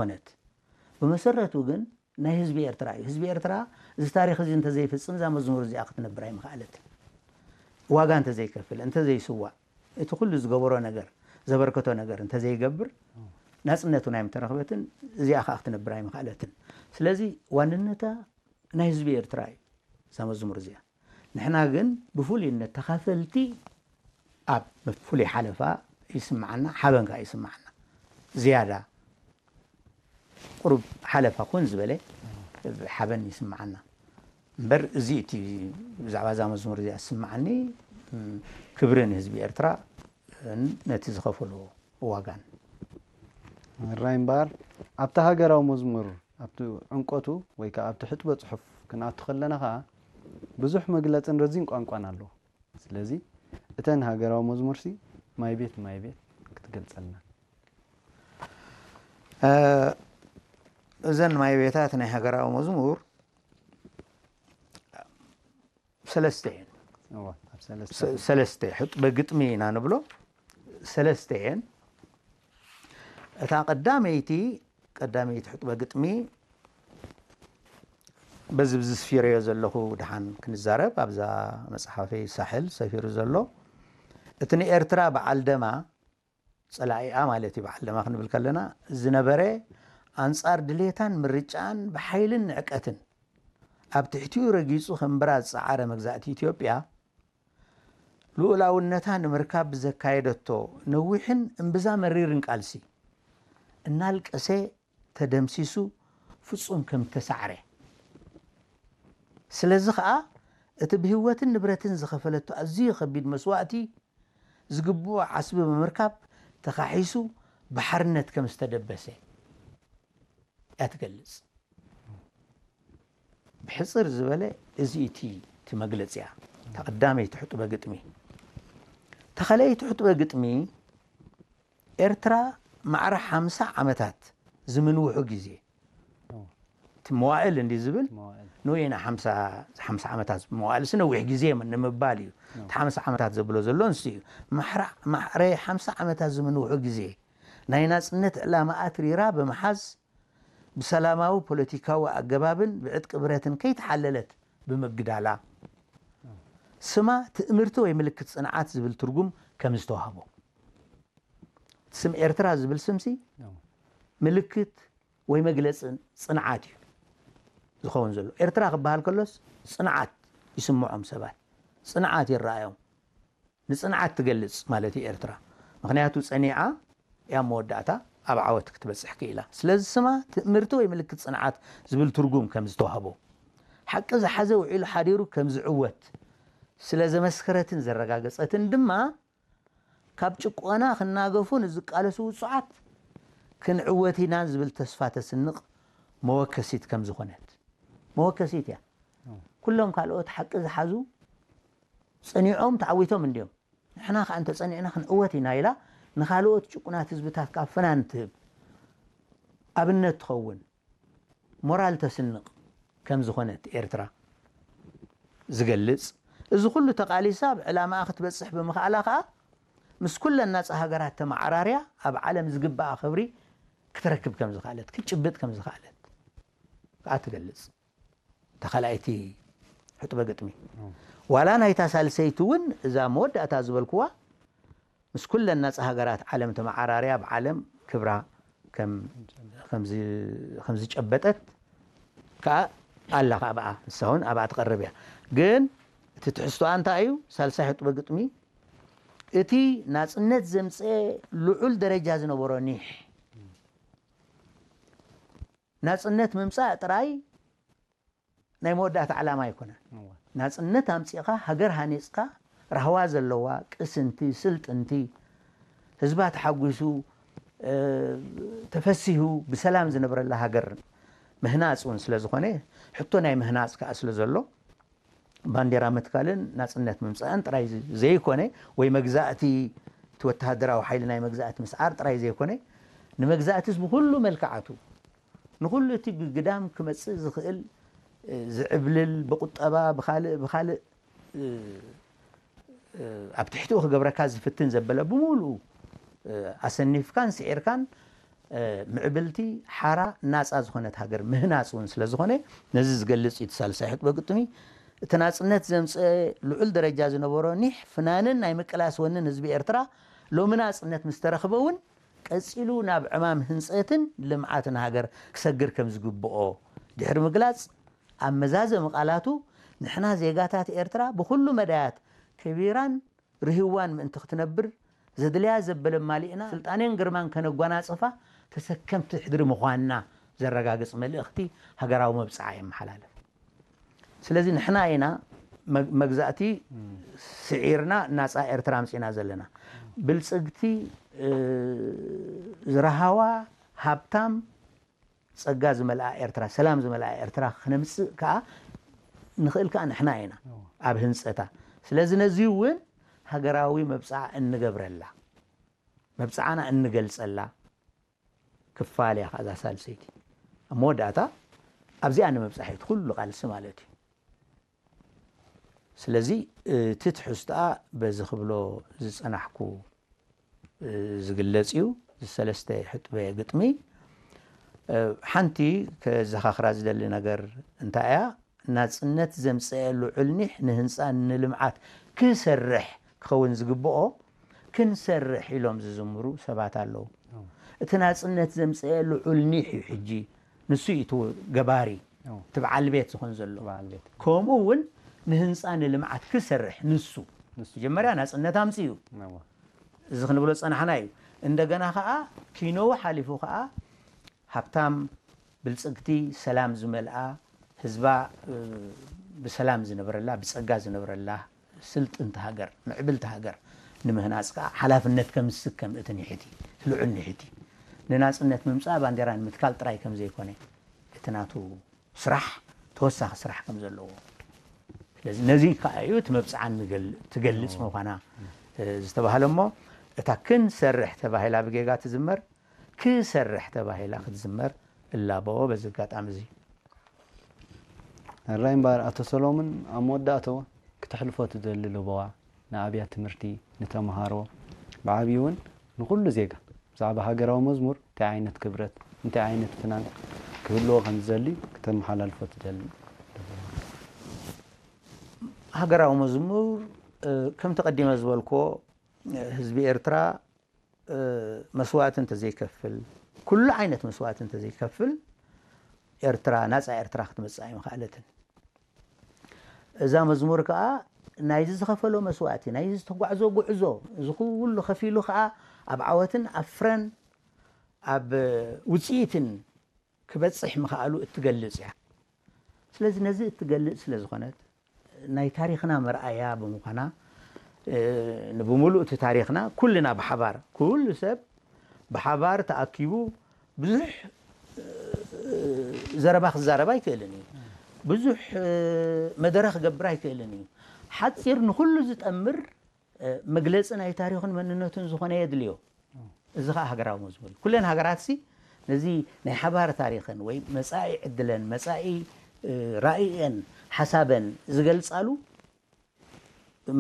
ኮነት። ብመሰረቱ ግን ናይ ህዝቢ ኤርትራ እዩ። ህዝቢ ኤርትራ እዚ ታሪኽ እዚ እንተዘይፍጽም እዛ መዝሙር እዚኣ ክትነብር ኣይምኽኣለትን። ዋጋ እንተዘይከፍል፣ እንተዘይስዋእ፣ እቲ ኩሉ ዝገበሮ ነገር፣ ዘበርከቶ ነገር እንተዘይገብር ናጽነት እውን ኣይምተረኽበትን። እዚኣ ከኣ ክትነብር ኣይምኽኣለትን። ስለዚ ዋንነታ ናይ ህዝቢ ኤርትራ እዩ እዛ መዝሙር እዚኣ። ንሕና ግን ብፍሉይነት ተኻፈልቲ ኣብ ፍሉይ ሓለፋ ይስምዓና፣ ሓበን ከኣ ይስምዓና። ዝያዳ ቁሩብ ሓለፋ ኮን ዝበለ ሓበን ይስምዓና። እምበር እዚ እቲ ብዛዕባ እዛ መዝሙር እዚኣ ዝስምዓኒ፣ ክብሪ ንህዝቢ ኤርትራ ነቲ ዝኸፈሎ ዋጋን። ራይ እምበኣር ኣብቲ ሃገራዊ መዝሙር ኣብቲ ዕምቆቱ ወይ ከዓ ኣብቲ ሕጥበ ጽሑፍ ክንኣቱ ከለና ከዓ ብዙሕ መግለጽን ረዚን ቋንቋን ኣለዎ። ስለዚ እተን ሃገራዊ መዝሙርሲ ማይ ቤት ማይ ቤት ክትገልጸልና። እዘን ማይ ቤታት ናይ ሃገራዊ መዝሙር ሰለስተ እየን። እወ፣ ኣብ ሰለስተ ሰ- ሰለስተ ሕጥበ ግጥሚ ኢና ንብሎ። ሰለስተ እየን። እታ ቀዳመይቲ ቀዳመይቲ ሕጥበ ግጥሚ በዚ ብዚ ስፊረዮ ዘለኹ ድሓን ክንዛረብ ኣብዛ መጽሓፈይ ሳሕል ሰፊሩ ዘሎ እቲ ንኤርትራ በዓል ደማ ጸላኢኣ ማለት እዩ በዓል ደማ ክንብል ከለና ዝነበረ ኣንጻር ድሌታን ምርጫን ብሓይልን ንዕቀትን ኣብ ትሕቲኡ ረጊጹ ከንብራ ዝጸዓረ መግዛእቲ ኢትዮጵያ ልኡላውነታ ንምርካብ ብዘካየደቶ ነዊሕን እምብዛ መሪርን ቃልሲ እናልቀሰ ተደምሲሱ ፍጹም ከም እተሳዕረ ስለዚ ኸኣ እቲ ብህይወትን ንብረትን ዝኸፈለቶ ኣዝዩ ኸቢድ መስዋእቲ ዝግብኦ ዓስቢ ብምርካብ ተኻሒሱ ብሓርነት ከም ዝተደበሰ እያ ትገልጽ። ብሕጽር ዝበለ እዚ እቲ እቲ መግለጺያ ተቐዳመይቲ ሕጡበ ግጥሚ ተኸለይቲ ሕጡበ ግጥሚ ኤርትራ ማዕረ ሓምሳ ዓመታት ዝምንውሑ ግዜ እቲ መዋእል እንዲ ዝብል ንወይና ሓምሳ ዓመታት መዋእል ሲ ነዊሕ ግዜ ንምባል እዩ። እቲ ሓምሳ ዓመታት ዘብሎ ዘሎ ንሱ እዩ። ማዕረ ሓምሳ ዓመታት ዝምንውሑ ግዜ ናይ ናጽነት ዕላማ ኣትሪራ ብምሓዝ ብሰላማዊ ፖለቲካዊ ኣገባብን ብዕጥቂ ብረትን ከይተሓለለት ብምግዳላ ስማ ትእምርቲ ወይ ምልክት ጽንዓት ዝብል ትርጉም ከም ዝተዋህቦ ስም ኤርትራ ዝብል ስምሲ ምልክት ወይ መግለፂ ፅንዓት እዩ ዝኸውን ዘሎ። ኤርትራ ክበሃል ከሎስ ፅንዓት ይስምዖም ሰባት፣ ፅንዓት ይረኣዮም። ንፅንዓት ትገልፅ ማለት እዩ ኤርትራ። ምክንያቱ ፀኒዓ እያ መወዳእታ ኣብ ዓወት ክትበፅሕ ክኢላ። ስለዚ ስማ ትእምርቲ ወይ ምልክት ፅንዓት ዝብል ትርጉም ከም ዝተዋህቦ፣ ሓቂ ዝሓዘ ውዒሉ ሓዲሩ ከም ዝዕወት ስለ ዘመስከረትን ዘረጋገፀትን ድማ ካብ ጭቆና ክናገፉ ንዝቃለሱ ውጹዓት ክንዕወት ኢና ዝብል ተስፋ ተስንቕ መወከሲት ከም ዝኾነት መወከሲት እያ። ኩሎም ካልኦት ሓቂ ዝሓዙ ጸኒዖም ተዓዊቶም እንድዮም፣ ንሕና ከኣ እንተጸኒዕና ክንዕወት ኢና ኢላ ንኻልኦት ጭቁናት ህዝብታት ከኣ ፍናን ትህብ ኣብነት ትኸውን ሞራል ተስንቕ ከም ዝኾነት ኤርትራ ዝገልጽ፣ እዚ ኩሉ ተቓሊሳ ኣብ ዕላማኣ ክትበጽሕ ብምኽኣላ ከኣ ምስ ኩለን ናጻ ሃገራት ተመዓራርያ ኣብ ዓለም ዝግብኣ ክብሪ ክትረክብ ከም ዝኽኣለት፣ ክትጭብጥ ከም ዝኽኣለት ከኣ ትገልጽ። እታ ካልኣይቲ ሕጥበ ግጥሚ ዋላ ናይታ ሳልሰይቲ እውን እዛ መወዳእታ ዝበልክዋ ምስ ኩለን ናጻ ሃገራት ዓለም ተመዓራርያ ኣብ ዓለም ክብራ ከም ዝጨበጠት ከኣ ኣላ ከኣ ብኣ ንሳ እውን ኣብኣ ትቐርብ እያ። ግን እቲ ትሕዝቶኣ እንታይ እዩ? ሳልሳይ ሕጥበ ግጥሚ እቲ ናጽነት ዘምጽኤ ልዑል ደረጃ ዝነበሮ ኒሕ ናጽነት ምምጻእ ጥራይ ናይ መወዳእታ ዕላማ ኣይኮነን። ናጽነት ኣምጺእኻ ሃገር ሃኒጽካ ራህዋ ዘለዋ ቅስንቲ ስልጥንቲ ህዝባ ተሓጒሱ ተፈሲሁ ብሰላም ዝነብረላ ሃገር ምህናጽ እውን ስለ ዝኾነ ሕቶ ናይ ምህናጽ ከኣ ስለ ዘሎ ባንዴራ ምትካልን ናጽነት ምምጻእን ጥራይ ዘይኮነ ወይ መግዛእቲ እቲ ወተሃደራዊ ሓይሊ ናይ መግዛእቲ ምስዓር ጥራይ ዘይኮነ ንመግዛእትስ ብኩሉ መልክዓቱ ንኹሉ እቲ ግዳም ክመጽእ ዝኽእል ዝዕብልል ብቁጠባ ብኻልእ ብኻልእ ኣብ ትሕቲኡ ክገብረካ ዝፍትን ዘበለ ብምሉኡ ኣሰኒፍካን ስዒርካን ምዕብልቲ፣ ሓራ፣ ናጻ ዝኾነት ሃገር ምህናጽ እውን ስለ ዝኾነ፣ ነዚ ዝገልጽ እዩ እቲ ሳልሳይ ሕጥበ ግጥሚ። እቲ ናጽነት ዘምጽአ ልዑል ደረጃ ዝነበሮ ኒሕ ፍናንን ናይ ምቅላስ ወንን ህዝቢ ኤርትራ፣ ሎሚ ናጽነት ምስ ተረኽበ እውን ቀጺሉ ናብ ዕማም ህንጸትን ልምዓትን ሃገር ክሰግር ከም ዝግብኦ ድሕሪ ምግላጽ፣ ኣብ መዛዘሚ ቃላቱ፣ ንሕና ዜጋታት ኤርትራ ብኹሉ መዳያት ከቢራን ርህዋን ምእንቲ ክትነብር፣ ዘድልያ ዘበለ ማሊእና ስልጣኔን ግርማን ከነጓናጽፋ ተሰከምቲ ሕድሪ ምዃንና ዘረጋግጽ መልእኽቲ ሃገራዊ መብጽዓ የመሓላልፍ። ስለዚ ንሕና ኢና መግ-፣ መግዛእቲ ስዒርና ናጻ ኤርትራ ኣምጺእና ዘለና። ብልጽግቲ፣ እ፣ ዝረሃዋ፣ ሃብታም፣ ጸጋ ዝመልኣ ኤርትራ፣ ሰላም ዝመልኣ ኤርትራ ክነምጽእ ከኣ ንኽእል ከኣ ንሕና ኢና ኣብ ህንጸታ። ስለዚ ነዚ እውን ሃገራዊ መብጽዓ እንገብረላ፣ መብጽዓና እንገልጸላ ክፋል እያ ከኣ እዛ ሳልሰይቲ። ኣብ መወዳእታ ኣብዚኣ ንምብጻሕ እዩ እቲ ኩሉ ቃልሲ ማለት እዩ። ስለዚ እቲ ትሕዝቶኣ በዚ ክብሎ ዝጸናሕኩ፣ እ፣ ዝግለጽ እዩ። እዚ ሰለስተ ሕጥበ ግጥሚ፣ እ፣ ሓንቲ ከዘኻኽራ ዝደሊ ነገር እንታይ እያ? ናጽነት ዘምጽአ ልዑል ኒሕ ንህንጻ ንልምዓት ክሰርሕ ክኸውን ዝግብኦ፣ ክንሰርሕ ኢሎም ዝዝምሩ ሰባት ኣለዉ። እቲ ናጽነት ዘምጽአ ልዑል ኒሕ እዩ ሕጂ፣ ንሱ እዩ እቲ ገባሪ፣ እቲ በዓል ቤት ዝኾን ዘሎ። በዓል ቤት። ከምኡ እውን ንህንጻ ንልምዓት ክሰርሕ ንሱ። ንሱ። መጀመርያ ናጽነት ኣምጽኡ። እዋ። እዚ ክንብሎ ዝጸናሕና እዩ። እንደገና ኸኣ ኪኖኡ ሓሊፉ ኸኣ ሃብታም፣ ብልጽግቲ፣ ሰላም ዝመልኣ፣ ህዝባ፣ እ፣ ብሰላም ዝነብረላ፣ ብጸጋ ዝነብረላ ስልጥንቲ ሃገር፣ ምዕብልቲ ሃገር ንምህናጽ ከኣ ሓላፍነት ከም ዝስከም እቲ ኒሕቲ፣ እቲ ልዑል ኒሕቲ። ንናጽነት ምምጻእ ባንዴራ ንምትካል ጥራይ ከም ዘይኮነ፣ እቲ ናቱ ስራሕ ተወሳኺ ስራሕ ከም ዘለዎ። ስለዚ ነዚ ከኣ እዩ እቲ መብጽዓ ንገል-፣ ትገልጽ ምዃና፣ እ፣ ዝተባህለ እሞ፣ እታ ክንሰርሕ ተባሂላ ብጌጋ ትዝመር፣ ክሰርሕ ተባሂላ ክትዝመር እላቦ በዚ ኣጋጣሚ እዚ። ሕራይ እምበኣር ኣቶ ሰሎሙን፣ ኣብ መወዳእታኡ ክተሕልፎ ትደሊ ለበዋ ንኣብያት ትምህርቲ፣ ንተምሃሮ፣ ብዓብዩ እውን ንኹሉ ዜጋ ብዛዕባ ሃገራዊ መዝሙር እንታይ ዓይነት ክብረት፣ እንታይ ዓይነት ፍናን ክህልዎ ከም ዝደሊ ክተመሓላልፎ ትደሊ? ሃገራዊ መዝሙር፣ እ፣ ከምቲ ቀዲመ ዝበልክዎ፣ እ፣ ህዝቢ ኤርትራ፣ እ፣ መስዋእቲ እንተዘይከፍል፣ ኩሉ ዓይነት መስዋእቲ እንተዘይከፍል፣ ኤርትራ፣ ናጻ ኤርትራ ክትመጽእ ኣይምኸኣለትን። እዛ መዝሙር ከኣ ናይዚ ዝኸፈሎ መስዋእቲ፣ ናይዚ ዝተጓዕዞ ጉዕዞ፣ እዚ ኩሉ ከፊሉ ከኣ ኣብ ዓወትን ኣብ ፍረን፣ ኣብ ውጽኢትን ክበጽሕ ምኽኣሉ እትገልጽ እያ። ስለዚ ነዚ እትገልጽ ስለ ዝኾነት፣ ናይ ታሪኽና መርኣያ ብምዃና፣ እ፣ ንብምሉእ እቲ ታሪኽና ኩልና ብሓባር፣ ኩሉ ሰብ ብሓባር ተኣኪቡ ብዙሕ፣ እ፣ ዘረባ ክዛረብ ኣይክእልን እዩ። ብዙሕ፣ እ፣ መደረ ክገብር ኣይክእልን እዩ። ሓጺር ንኹሉ ዝጠምር፣ እ፣ መግለጺ ናይ ታሪኽን መንነቱን ዝኾነ የድልዮ። እዚ ኸኣ ሃገራዊ መዝሙር እዩ። ኩለን ሃገራትሲ ነዚ ናይ ሓባር ታሪኽን ወይ መጻኢ ዕድለን፣ መጻኢ፣ እ፣ ራእየን፣ ሓሳበን ዝገልጻሉ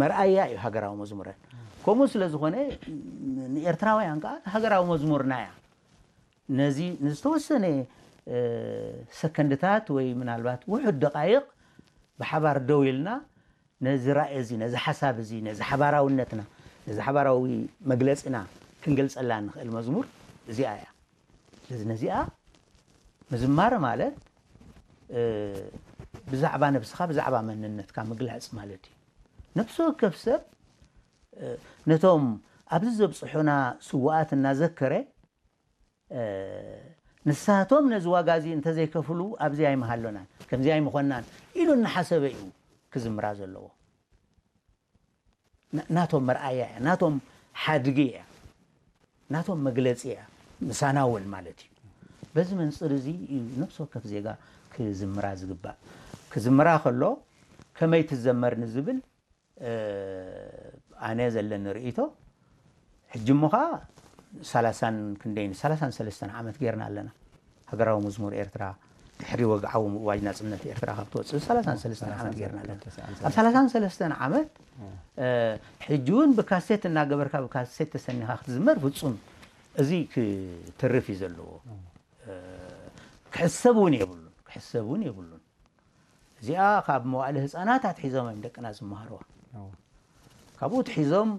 መርኣያ እዩ ሃገራዊ መዝሙረን። ከምኡ ስለ ዝኾነ፣ ንኤርትራውያን ከኣ ሃገራዊ መዝሙርና እያ። ነዚ ንዝተወሰነ፣ እ፣ ሰከንድታት ወይ ምናልባት ውሑድ ደቃይቕ ብሓባር ደው ኢልና ነዚ ራእይ እዚ፣ ነዚ ሓሳብ እዚ፣ ነዚ ሓባራውነትና፣ ነዚ ሓባራዊ መግለጺና ክንገልጸላ እንኽእል መዝሙር እዚኣ እያ። ስለዚ ነዚኣ ምዝማር ማለት፣ እ፣ ብዛዕባ ነብስኻ፣ ብዛዕባ መንነትካ ምግላጽ ማለት እዩ። ነፍሲ ወከፍ ሰብ፣ እ፣ ነቶም ኣብዚ ዘብጽሑና ስዉኣት እናዘከረ፣ እ፣ ንሳቶም ነዚ ዋጋ እዚ እንተዘይከፍሉ ኣብዚ ኣይምሃሎናን፣ ከምዚ ኣይምኾንናን ኢሉ እናሓሰበ እዩ ክዝምራ ዘለዎ። ና-፣ ናቶም መርኣያ እያ፣ ናቶም ሓድጊ እያ፣ ናቶም መግለጺ እያ፣ ምሳና እውን ማለት እዩ። በዚ መንጽር እዚ እዩ ነፍሲ ወከፍ ዜጋ ክዝምራ ዝግባእ። ክዝምራ ከሎ ከመይ ትዘመር ንዝብል፣ እ፣ ኣነ ዘለኒ ርእይቶ፣ ሕጂ እሞ ኸኣ ሰላሳን ክንደይን፣ ሰላሳን ሰለስተን ዓመት ጌርና ኣለና። ሃገራዊ መዝሙር ኤርትራ ድሕሪ ወግዓዊ ምእዋጅ ናጽነት ኤርትራ ካብ ትወጽእ ሰላሳን ሰለስተን ዓመት ጌርና ኣለና። ኣብ ሰላሳን ሰለስተን ዓመት፣ እ፣ ሕጂ እውን ብካሴት እናገበርካ ብካሴት ተሰኒኻ ክትዝመር ፍጹም እዚ ክትርፍ እዩ ዘለዎ። ክሕሰብ እውን የብሉን፣ ክሕሰብ እውን የብሉን። እዚኣ ካብ መዋእለ ህፃናት ኣትሒዞም እዮም ደቅና ዝመሃርዋ። ካብኡ ትሒዞም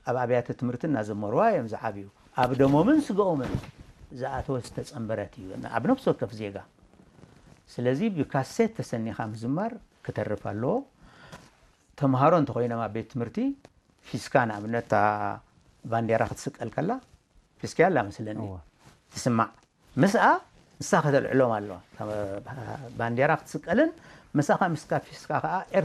ኣብ ኣብያተ ትምህርቲ እናዘመርዋ እዮም ዝዓብዩ። ኣብ ደሞምን ስጋኦምን ዝኣተወ ዝተፀንበረት እዩ ኣብ ነፍሲ ወከፍ ዜጋ። ስለዚ ብካሴት ተሰኒኻ ምዝማር ክተርፍ ኣለዎ። ተምሃሮ እንተኮይኖም ኣብ ቤት ትምህርቲ ፊስካ ንኣብነት እታ ባንዴራ ክትስቀል ከላ ፊስካ ኣላ መስለኒ ትስማዕ። ምስኣ ንሳ ከተልዕሎም ኣለዋ። ባንዴራ ክትስቀልን ምሳኻ ምስካ ፊስካ ከዓ